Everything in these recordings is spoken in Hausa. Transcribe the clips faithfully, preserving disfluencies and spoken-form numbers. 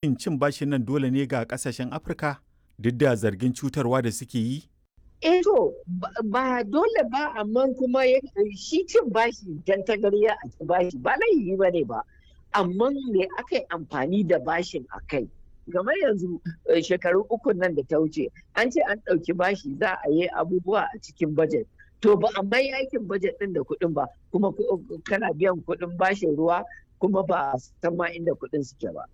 Shin cin bashin nan dole ne ga ƙasashen Afirka duk da zargin cutarwa da suke yi? Eh to ba dole ba, amma kuma shi cin bashi dan tagarya a ci bashi ba laifi ba ne ba, amma me aka yi amfani da bashin a kai? Kamar yanzu shekaru uku nan da ta wuce, an ce an ɗauki bashi za a yi abubuwa a cikin budget. To ba a mai aikin budget ɗin da kuɗin ba, kuma kana biyan kuɗin bashin ruwa, kuma ba a san ma inda kuɗin suke ba.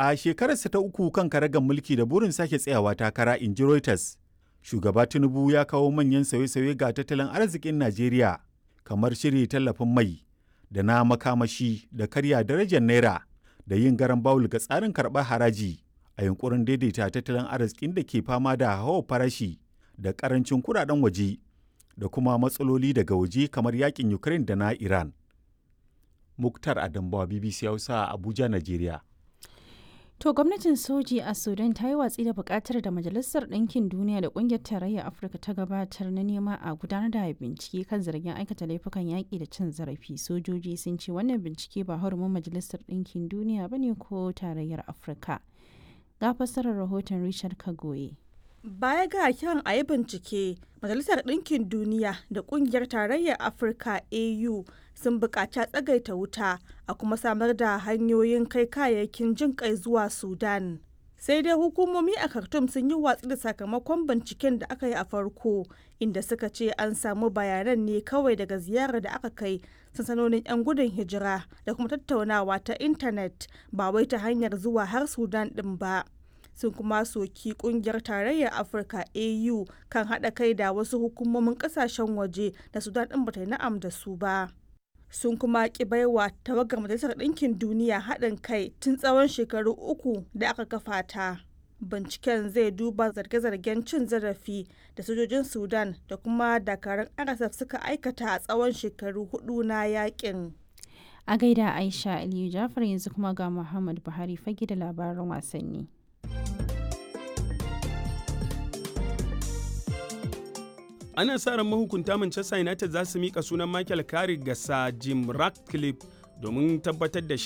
A shekararsa ta uku kan karagar mulki da burin sake tsayawa takara, in ji Reuters, shugaba Tinubu ya kawo manyan sauye-sauye ga tattalin arzikin Najeriya, kamar shiri tallafin mai da na makamashi da karya darajar naira da yin garan bawul ga tsarin karɓar haraji a yunkurin daidaita tattalin arzikin da ke fama da hawa farashi da karancin kuɗaɗen waje da kuma matsaloli daga waje kamar yakin Ukraine da na Iran. Muktar Adambawa, B B C Hausa, Abuja, Najeriya. To, gwamnatin soji a Sudan ta yi watsi da bukatar da Majalisar Ɗinkin Duniya da Ƙungiyar Tarayyar Afirka ta gabatar na nema a gudanar da bincike kan zargin aikata laifukan yaƙi da cin zarafi. Sojoji sun ce wannan bincike ba hurumin Majalisar Ɗinkin Duniya ba ne ko Tarayyar Afirka. Ga fassarar rahoton Richard Kagoye. Baya ga kiran a yi bincike, Majalisar Ɗinkin Duniya da Ƙungiyar Tarayyar Afirka A U sun buƙaci a tsagaita wuta a kuma samar da hanyoyin kai kayayyakin jin kai zuwa Sudan. Sai dai hukumomi a Khartoum sun yi watsi da sakamakon binciken da aka yi a farko, inda suka ce an samu bayanan ne kawai daga ziyarar da aka kai sansanonin 'yan gudun hijira da kuma tattaunawa ta intanet, ba wai ta hanyar zuwa har Sudan ɗin ba. Sun kuma soki kungiyar Tarayyar Afirka A U kan haɗa kai da wasu hukumomin ƙasashen waje da Sudan ɗin bata yi na'am da su ba. Sun kuma ki baiwa tawagar Majalisar Ɗinkin Duniya haɗin kai tun tsawon shekaru uku da aka kafa ta. Binciken zai duba zarge-zargen cin zarafi da sojojin Sudan da kuma dakarun R S F suka aikata a tsawon shekaru hudu na yakin. A gaida Aisha Aliyu Jafar. Yanzu kuma ga Muhammad Buhari fage da labaran wasanni. Ana sa ran mahukunta Manchester United za su mika sunan Michael Carrick ga Sir Jim Ratcliffe domin tabbatar da shi.